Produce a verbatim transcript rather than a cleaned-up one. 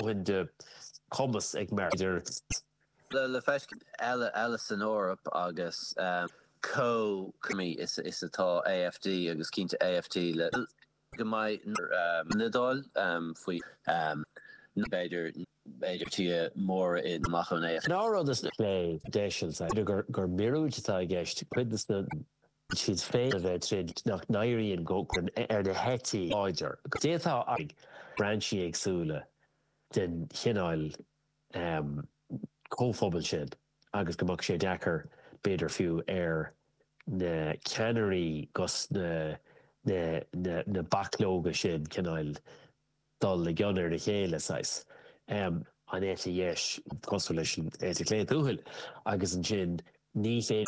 dóthain de chumas ag Merkel. Le le feiscint eile eile san Eoraip agus um, co-mi is is atá AfD agus cinnte AfD le go mbeidh um, an Iodáil um, faoi um, b'fhéidir b'fhéidir tí mór in amach an AfD. Ná rud is lé déisiil gur gur míorúilt atá i gceist cuid na siad féin a bheith tríd nach n-éiríonn go ar na heití láidir. Détá ag brainsí éagsúla den chineál um, comhphobal sin agus go mbeadh sé deacair b'fhéidir fiú ar na ceannairí gus na na, na, na baclóga sin cineál dul i gcionn ar a chéile sais. Um, an eite dheis cosúil leis an eite chlé tuathail agus ansin ní féidir